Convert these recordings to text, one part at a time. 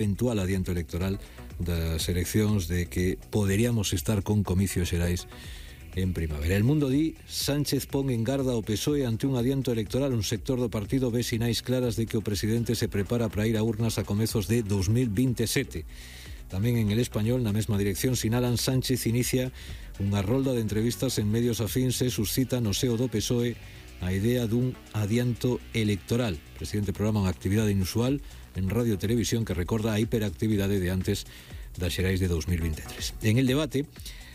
eventual adianto electoral das eleccións de que poderíamos estar con comicios xerais en primavera. El Mundo di: Sánchez pon en garda o PSOE ante un adianto electoral. Un sector do partido ve sinais claras de que o presidente se prepara para ir a urnas a comezos de 2027. Tamén en El Español, na mesma dirección, sinalan: Sánchez inicia unha rolda de entrevistas en medios afíns e suscita no seo do PSOE a idea dun adianto electoral. O presidente programa unha actividade inusual en radio e televisión que recorda a hiperactividade de antes das xerais de 2023. En El Debate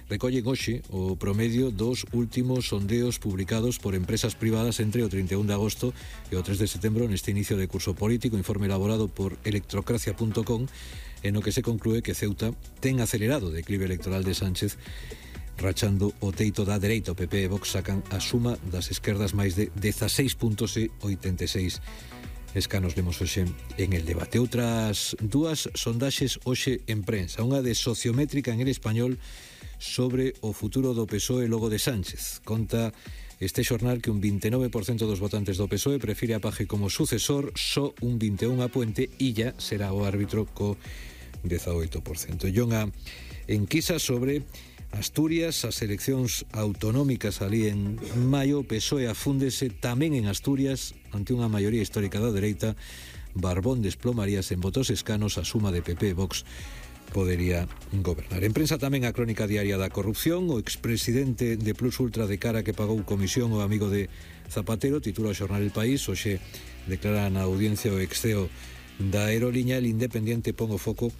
recolle hoxe o promedio dos últimos sondeos publicados por empresas privadas entre o 31 de agosto e o 3 de setembro neste inicio de curso político, informe elaborado por electrocracia.com, en o que se conclúe que Ceuta ten acelerado o declive electoral de Sánchez, rachando o teito da dereita. O PP e Vox sacan a suma das esquerdas máis de 16 puntos e 86 escanos, lemos hoxe en El Debate. Outras dúas sondaxes hoxe en prensa. Unha de Sociométrica en El Español sobre o futuro do PSOE logo de Sánchez. Conta este xornal que un 29% dos votantes do PSOE prefire a Paje como sucesor, só un 21% a Puente, Illa será o árbitro co 18%. E unha enquisa sobre Asturias, as eleccións autonómicas ali en maio. O PSOE afúndese tamén en Asturias ante unha maioría histórica da dereita. Barbón desplomaríase en votos escanos, a suma de PP e Vox podería gobernar. En prensa tamén a crónica diaria da corrupción. O expresidente de Plus Ultra declara que pagou comisión o amigo de Zapatero, titula o xornal El País. Hoxe declara na audiencia o ex-CEO da aeroliña. El Independiente pon o foco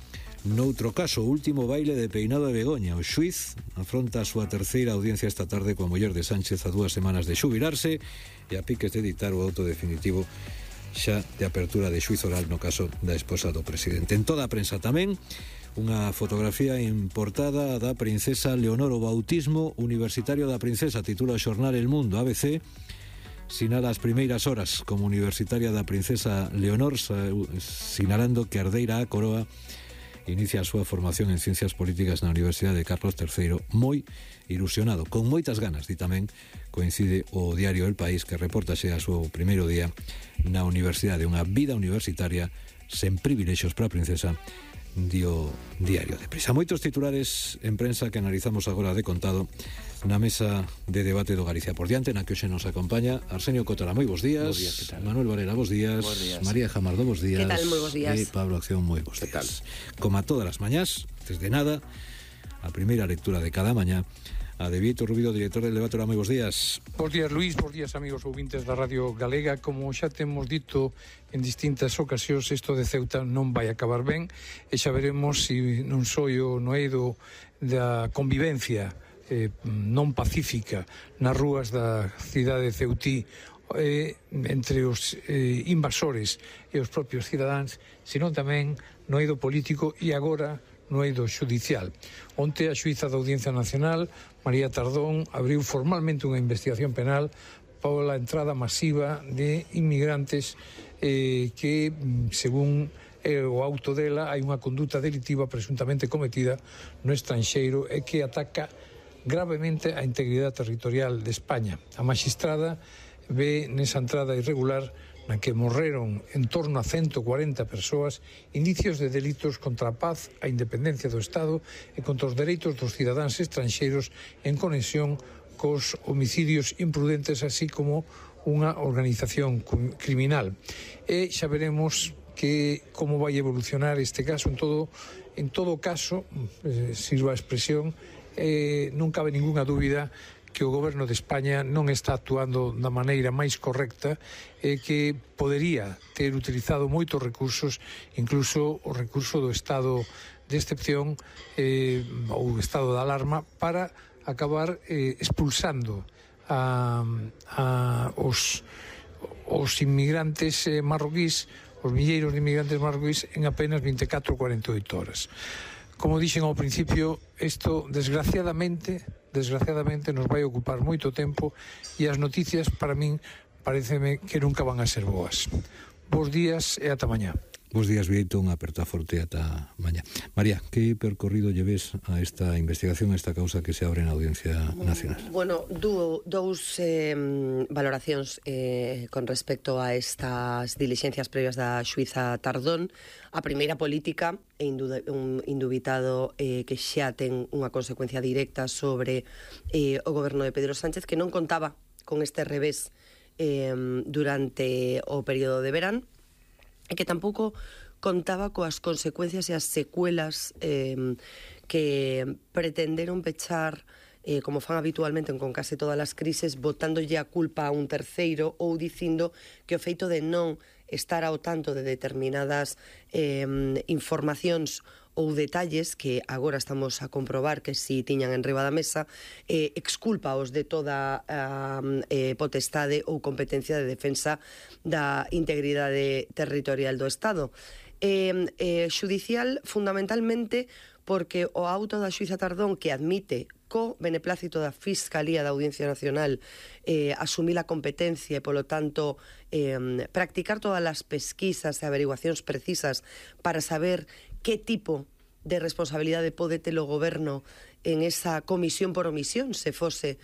noutro caso, o último baile de peinado de Begoña. O xuiz afronta a súa terceira audiencia esta tarde coa muller de Sánchez a 2 semanas de xubilarse e a piques de dictar o auto definitivo xa de apertura de xuiz oral no caso da esposa do presidente. En toda a prensa tamén unha fotografía en portada da princesa Leonor. O bautismo universitario da princesa, titula o xornal El Mundo. ABC sinala as primeiras horas como universitaria da princesa Leonor, sinalando que a herdeira a coroa inicia a súa formación en Ciencias Políticas na Universidade de Carlos III, moi ilusionado, con moitas ganas. Di tamén, coincide o diario El País, que reporta xa a súa primeiro día na universidade, unha vida universitaria sen privilexios para a princesa, dio diario de Prisa. Moitos titulares en prensa que analizamos agora de contado na mesa de debate do Galicia por diante, na que hoxe nos acompaña Arsenio Cotara. Moi bons días. Bos días, que tal? Manuel Varela, bos días. María Jamardo, bos días. Que tal? Moi bos días. E Pablo Acción, moi bos días. Como a todas as mañás, desde nada, a primeira lectura de cada mañá, a de Vieito Rubido, director del debate. Ora, moi bos días. Bos días, Luís, bos días, amigos ouvintes da Radio Galega. Como xa temos dito en distintas ocasións, isto de Ceuta non vai acabar ben, e xa veremos se non soi o noeido da convivencia non pacífica nas rúas da cidade de Ceutí entre os invasores e os propios cidadáns, senón tamén noeido político e agora no eido xudicial. Onte a xuíza da Audiencia Nacional, María Tardón, abriu formalmente unha investigación penal pola entrada masiva de inmigrantes que, según o auto dela, hai unha conduta delitiva presuntamente cometida no estranxeiro e que ataca gravemente a integridade territorial de España. A magistrada ve nesa entrada irregular na que morreron en torno a 140 persoas indicios de delitos contra a paz, a independencia do Estado e contra os dereitos dos cidadáns estranxeiros en conexión cos homicidios imprudentes, así como unha organización criminal. E xa veremos como vai evolucionar este caso. En todo caso, sirva a expresión, non cabe ninguna dúbida que o goberno de España non está actuando da maneira máis correcta e que podería ter utilizado moitos recursos, incluso o recurso do estado de excepción ou estado de alarma, para acabar expulsando os inmigrantes marroquíes, os milleiros de inmigrantes marroquíes, en apenas 24 ou 48 horas. Como dixen ao principio, isto desgraciadamente nos vai ocupar moito tempo e as noticias para min pareceme que nunca van a ser boas. Bos días e ata mañá. Bos días, Vieito, unha aperta forte ata mañá. María, que percorrido lleves a esta investigación, a esta causa que se abre na Audiencia Nacional? Bueno, dous valoracións con respecto a estas dilixencias previas da xuíza Tardón. A primeira política, un indubitado que xa ten unha consecuencia directa sobre o goberno de Pedro Sánchez, que non contaba con este revés durante o período de verán, e que tampouco contaba coas consecuencias e as secuelas que pretenderon pechar, como fan habitualmente con case todas as crises, botándolle a culpa a un terceiro ou dicindo que o feito de non estar ao tanto de determinadas informacións ou detalles que agora estamos a comprobar que si tiñan enriba da mesa, exculpaos de toda a potestade ou competencia de defensa da integridade territorial do Estado. Xudicial, fundamentalmente, porque o auto da xuíza Tardón, que admite co beneplácito da Fiscalía da Audiencia Nacional asumir a competencia e, polo tanto, practicar todas as pesquisas e averiguacións precisas para saber que tipo de responsabilidade pode ter o goberno en esa comisión por omisión, se fose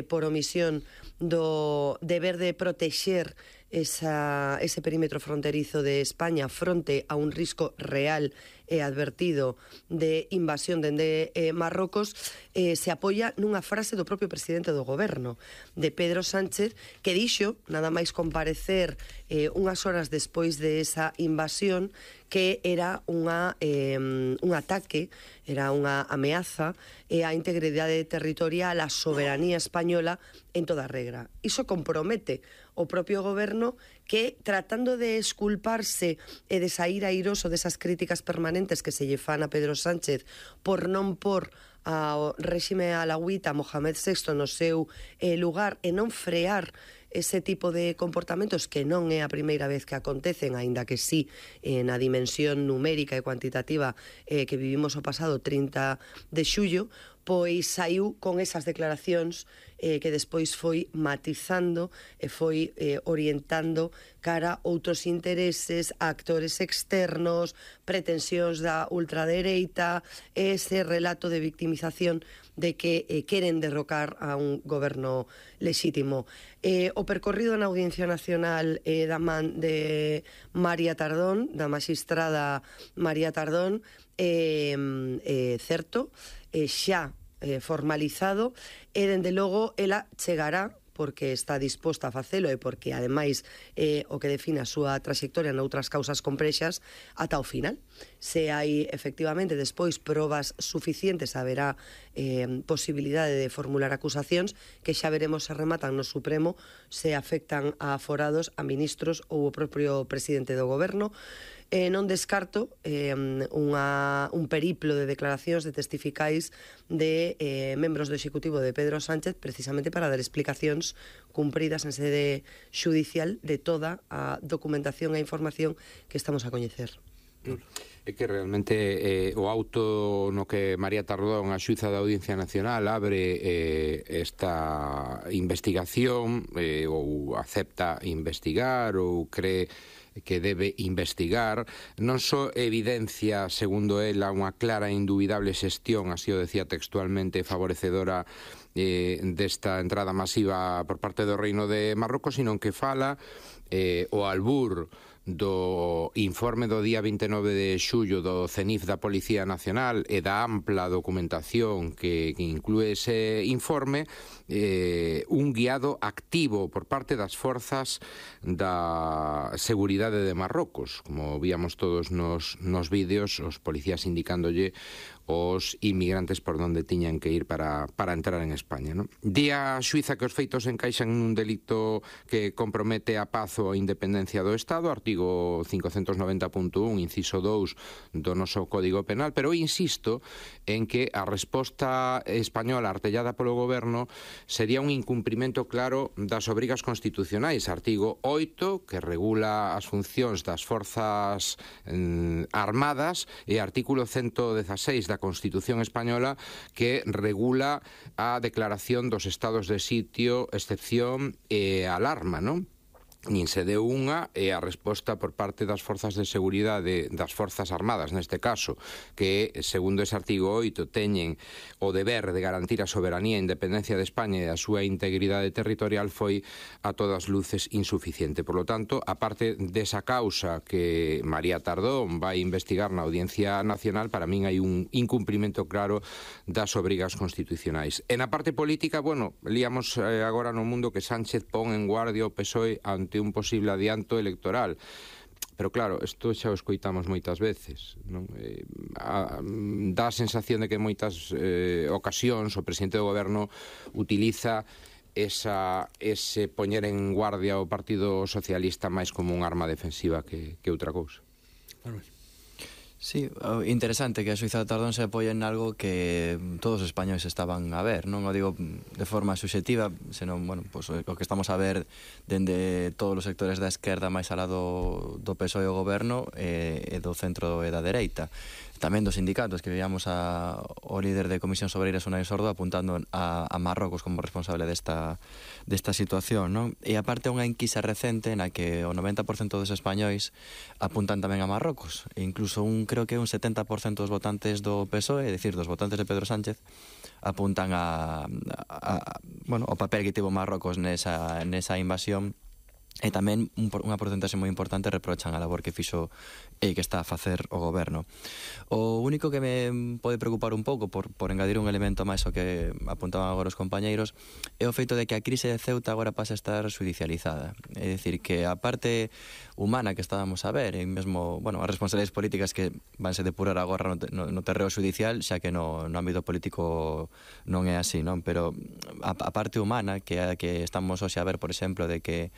por omisión do deber de protexer ese perímetro fronterizo de España fronte a un risco real e advertido de invasión dende Marrocos, se apoia nunha frase do propio presidente do goberno, de Pedro Sánchez, que dixo, nada máis comparecer unhas horas despois de esa invasión, que era un ataque, era unha ameaza á integridade territorial, á soberanía española en toda regra. Iso compromete o propio goberno que, tratando de esculparse e de sair airoso desas críticas permanentes que se lle fan a Pedro Sánchez por non por ao réxime alauita Mohamed VI no seu lugar e non frear ese tipo de comportamentos que non é a primeira vez que acontecen, aínda que sí na dimensión numérica e cuantitativa que vivimos o pasado 30 de xullo, pois saiu con esas declaracións que despois foi matizando e foi orientando cara a outros intereses, actores externos, pretensións da ultradereita, ese relato de victimización de que queren derrocar a un goberno lexítimo. O percorrido na Audiencia Nacional da man de María Tardón, da magistrada María Tardón, certo, xa formalizado, e dende logo ela chegará, porque está disposta a facelo e porque ademais o que define a súa traxectoria noutras causas complexas, ata o final. Se hai efectivamente despois probas suficientes, haberá posibilidade de formular acusacións que xa veremos se rematan no Supremo, se afectan a aforados, a ministros ou o propio presidente do goberno. Non descarto un periplo de declaracións de testificais de membros do Executivo de Pedro Sánchez, precisamente para dar explicacións cumpridas en sede xudicial de toda a documentación e información que estamos a coñecer. É que realmente o auto no que María Tardón, a xuíza da Audiencia Nacional, abre esta investigación ou acepta investigar ou cree que debe investigar, non só evidencia, segundo ela, unha clara e indubidable xestión, así o decía textualmente, favorecedora desta entrada masiva por parte do Reino de Marrocos, sino que fala o albur do informe do día 29 de xullo do CENIF da Policía Nacional e da ampla documentación que inclúe ese informe, un guiado activo por parte das forzas da seguridade de Marrocos, como víamos todos nos vídeos, os policías indicándolle os inmigrantes por onde tiñan que ir para entrar en España, non? Di a xuíza que os feitos encaixan nun delito que compromete a paz ou a independencia do Estado, artigo 590.1, inciso 2 do noso Código Penal, pero insisto en que a resposta española artellada polo goberno sería un incumprimento claro das obrigas constitucionais, artigo 8, que regula as funcións das forzas armadas, e artículo 116 da Constitución española, que regula a declaración dos estados de sitio, excepción e alarma, non? nin se deu unha, e a resposta por parte das forzas de seguridade, das forzas armadas neste caso, que segundo ese artigo 8 teñen o deber de garantir a soberanía e independencia de España e a súa integridade territorial, foi a todas luces insuficiente. Por lo tanto, a parte desa causa que María Tardón vai investigar na Audiencia Nacional, para min hai un incumprimento claro das obrigas constitucionais. E na parte política, bueno, líamos agora no mundo que Sánchez pon en guardia o PSOE ante un posible adianto electoral. Pero claro, isto xa o escoitamos moitas veces, non? Dá a sensación de que en moitas ocasións o presidente do goberno utiliza ese poñer en guardia o Partido Socialista máis como un arma defensiva que outra cousa. Sí, interesante que a Suiza de Tardón se apoia en algo que todos os españois estaban a ver, non o digo de forma subxectiva, senón, bueno, pues, o que estamos a ver dende todos os sectores da esquerda máis alá do PSOE e o goberno e do centro e da dereita. Tamén dos sindicatos, que veíamos o líder de Comisión Sobreira, Unai Sordo, apuntando a Marrocos como responsable desta situación, non? E aparte unha enquisa recente na que o 90% dos españois apuntan tamén a Marrocos, e incluso creo que un 70% dos votantes do PSOE, é dicir, dos votantes de Pedro Sánchez, apuntan bueno, o papel que tivo Marrocos nesa invasión. E tamén unha porcentaxe moi importante reprochan a labor que fixo e que está a facer o goberno. O único que me pode preocupar un pouco, por engadir un elemento máis ao que apuntaban agora os compañeiros, é o feito de que a crise de Ceuta agora pasa a estar judicializada. É dicir, que a parte humana que estábamos a ver, e mesmo, bueno, as responsabilidades políticas que vanse depurar agora no terreo judicial, xa que no ámbito político non é así, non? Pero a parte humana que estamos hoxe a ver, por exemplo, de que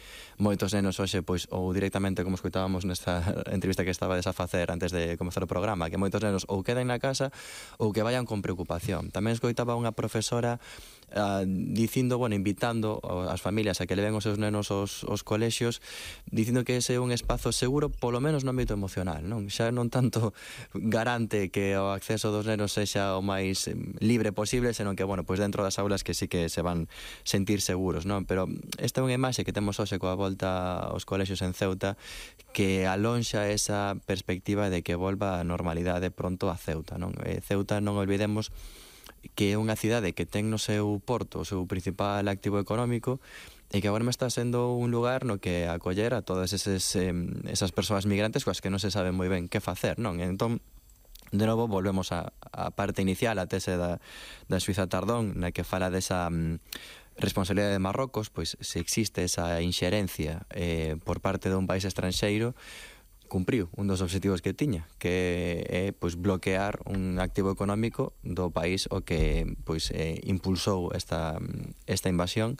moitos nenos hoxe, pois, ou directamente, como escoitábamos nesta entrevista que estabades a facer antes de comezar o programa, que moitos nenos ou queden na casa ou que vayan con preocupación. Tamén escoitaba unha profesora dicindo, bueno, invitando as familias a que leven os seus nenos aos colexios, dicindo que ese é un espazo seguro, polo menos no ámbito emocional, non? Xa non tanto garante que o acceso dos nenos sexa o máis libre posible, senón que, bueno, pois dentro das aulas que sí que se van sentir seguros, non? Pero esta é unha imaxe que temos hoxe coa volta aos colexios en Ceuta, que alonxa esa perspectiva de que volva a normalidade pronto a Ceuta, non? Ceuta, non olvidemos que é unha cidade que ten no seu porto o seu principal activo económico e que agora está sendo un lugar no que acoller a todas esas persoas migrantes coas que non se sabe moi ben que facer, non? Entón, de novo, volvemos a parte inicial, a tese da Suiza Tardón, na que fala desa responsabilidade de Marrocos, pois se existe esa inxerencia por parte dun país estranxeiro, cumpriu un dos obxectivos que tiña, que é, pois, bloquear un activo económico do país o que, pois, impulsou esta invasión,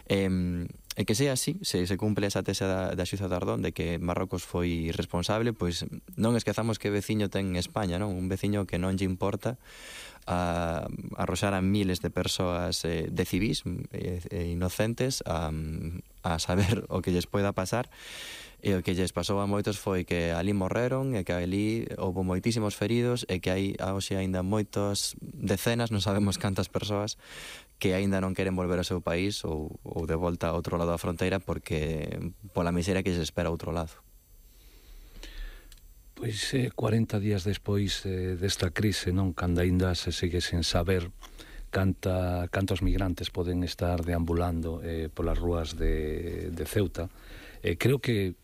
e que sea así, se cumple esa tese da Suiza Tardón de que Marrocos foi responsable, pois non esquezamos que veciño ten España, non? Un veciño que non lle importa arroxar a miles de persoas de civís inocentes a saber o que lles poida pasar. E o que lles pasou a moitos foi que ali morreron e que ali houve moitísimos feridos e que hai hoxe aínda moitas decenas, non sabemos cantas persoas, que aínda non queren volver ao seu país ou de volta ao outro lado da fronteira porque pola miseria que lles espera ao outro lado. Pois 40 días despois desta crise, non, cando aínda se segue sen saber cantos migrantes poden estar deambulando polas rúas de Ceuta, creo que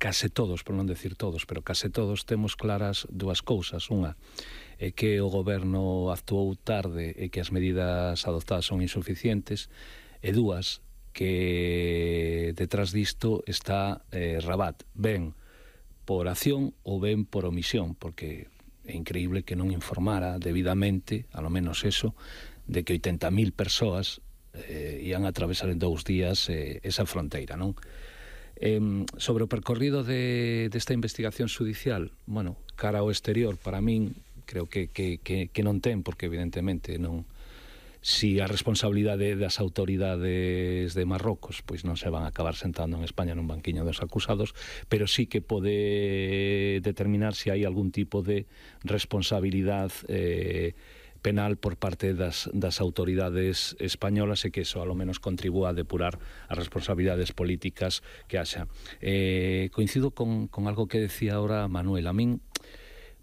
case todos, por non decir todos, pero case todos temos claras dúas cousas. Unha é que o goberno actuou tarde e que as medidas adoptadas son insuficientes, e dúas, que detrás disto está Rabat, ben por acción ou ben por omisión, porque é increíble que non informara debidamente, a lo menos eso, de que 80.000 persoas ian a atravesar en 2 días esa fronteira, non? Sobre o percorrido desta investigación judicial, bueno, cara ao exterior, para min, creo que non ten, porque evidentemente non, si a responsabilidade das autoridades de Marrocos, pois non se van a acabar sentando en España nun banquiño dos acusados, pero sí que pode determinar se hai algún tipo de responsabilidade penal por parte das autoridades españolas e que eso ao menos contribúa a depurar as responsabilidades políticas que haxa. Coincido con algo que decía ahora Manuel. A min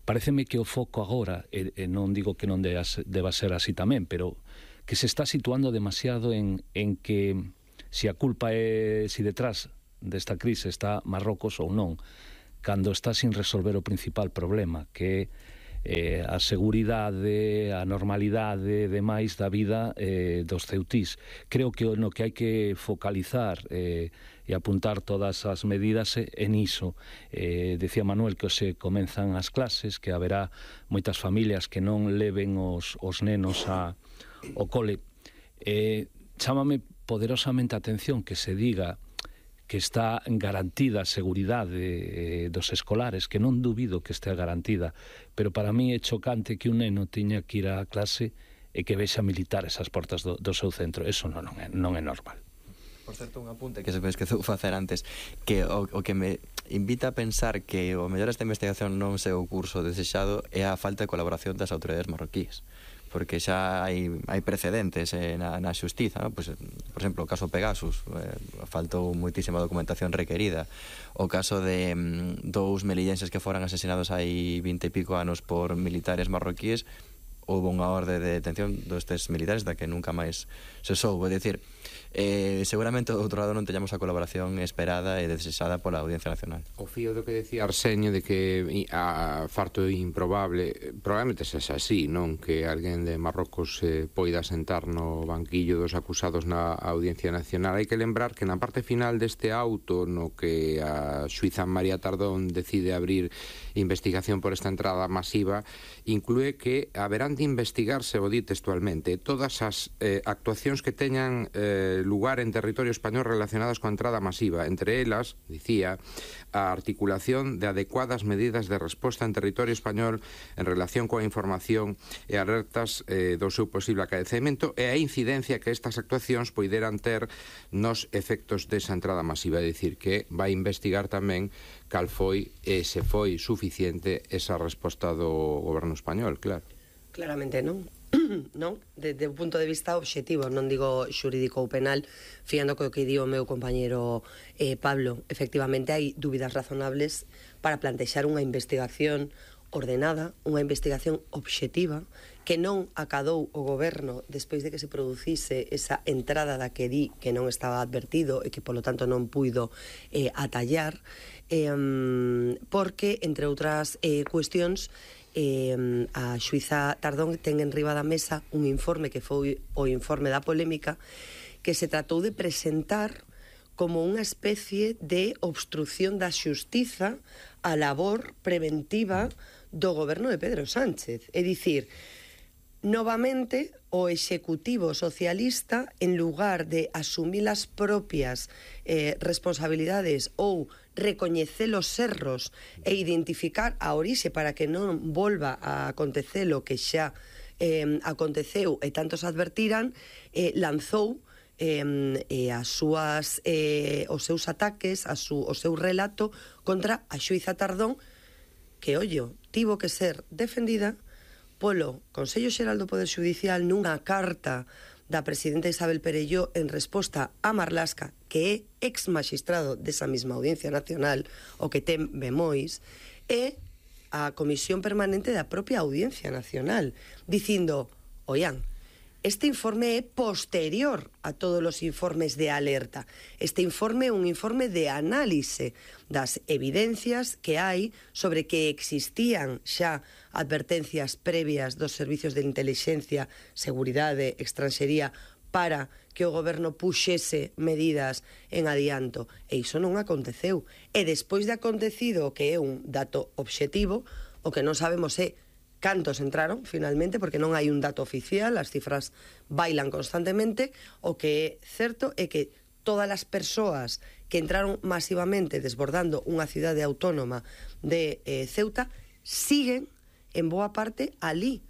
paréceme que o foco agora, non digo que non deba ser así tamén, pero que se está situando demasiado en que se a culpa é si detrás desta crise está Marrocos ou non, cando está sin resolver o principal problema, que é a seguridade, a normalidade demais da vida dos ceutís. Creo que no que hai que focalizar e apuntar todas as medidas en iso. Decía Manuel que se comenzan as clases, que haberá moitas familias que non leven os nenos ao cole. Chámame poderosamente a atención que se diga que está garantida a seguridade dos escolares, que non dubido que estea garantida, pero para mí é chocante que un neno tiña que ir á clase e que vexa militares ás portas do seu centro. Eso non é normal. Por certo, un apunte que se me esqueceu facer antes, que o que me invita a pensar que o mellor esta investigación non se o curso desexado é a falta de colaboración das autoridades marroquíes, porque xa hai precedentes na xustiza, ¿no? Pues, por exemplo, o caso Pegasus, faltou moitísima documentación requerida. O caso de dous melillenses que foran asesinados hai 20 e pico anos por militares marroquíes, houve unha orde de detención destes militares da que nunca máis se soubo. É dicir, seguramente do outro lado non teñamos a colaboración esperada e desexada pola Audiencia Nacional. O fío do que decía Arsenio de que farto improbable, probablemente sexa así, non? Que alguén de Marrocos poida sentar no banquillo dos acusados na Audiencia Nacional. Hai que lembrar que na parte final deste auto no que a xuíza María Tardón decide abrir investigación por esta entrada masiva, inclúe que haberán de investigarse, o di textualmente, todas as actuacións que teñan lugar en territorio español relacionadas coa entrada masiva, entre elas, dicía, a articulación de adecuadas medidas de resposta en territorio español en relación coa información e alertas do seu posible acaecemento e a incidencia que estas actuacións poideran ter nos efectos desa entrada masiva, é dicir, que vai investigar tamén cal foi e se foi suficiente esa resposta do goberno español, claro. Claramente non. Non? Desde o punto de vista obxectivo, non digo xurídico ou penal, fiando co que di o meu compañero Pablo. Efectivamente, hai dúbidas razonables para plantexar unha investigación ordenada, unha investigación obxectiva, que non acadou o goberno despois de que se producise esa entrada da que di que non estaba advertido e que, polo tanto, non puido atallar, porque, entre outras cuestións, a xuíza Tardón ten en riba da mesa un informe que foi o informe da polémica, que se tratou de presentar como unha especie de obstrucción da xustiza á labor preventiva do goberno de Pedro Sánchez. É dicir, novamente o executivo socialista, en lugar de asumir as propias responsabilidades ou recoñecer os erros e identificar a orixe para que non volva a acontecer o que xa aconteceu e tantos advertiran, lanzou os seus ataques, o seu relato contra a xuíza Tardón, que, ollo, tivo que ser defendida polo Consello Xeral do Poder Xudicial nunha carta da presidenta Isabel Perelló en resposta a Marlaska, que é ex-magistrado desa mesma Audiencia Nacional, o que ten bemois, e a Comisión Permanente da propia Audiencia Nacional, dicindo, oian, este informe é posterior a todos os informes de alerta. Este informe é un informe de análise das evidencias que hai sobre que existían xa advertencias previas dos servicios de intelixencia, seguridade, extranxería, para que o goberno puxese medidas en adianto. E iso non aconteceu. E despois de acontecido, que é un dato obxectivo, o que non sabemos é cantos entraron, finalmente, porque non hai un dato oficial, as cifras bailan constantemente. O que é certo é que todas as persoas que entraron masivamente desbordando unha cidade autónoma de Ceuta siguen, en boa parte, ali,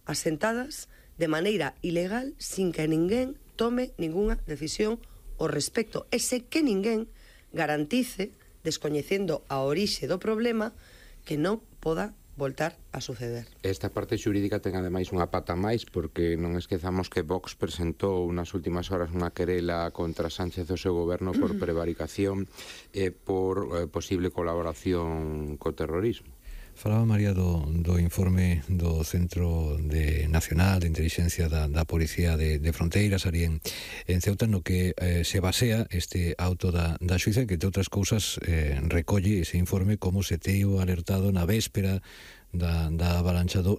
asentadas de maneira ilegal, sin que ninguén tome ningunha decisión ao respecto. E se que ninguén garantice, descoñecendo a orixe do problema, que non poda voltar a suceder. Esta parte xurídica ten ademais unha pata máis, porque non esquezamos que Vox presentou nas últimas horas unha querela contra Sánchez e o seu goberno por prevaricación e por posible colaboración co terrorismo. Falaba María do informe do Centro Nacional de Inteligencia da Policía de Fronteiras ali en Ceuta, no que se basea este auto da xuíza, que entre outras cousas recolle ese informe como se teo alertado na véspera da avalancha do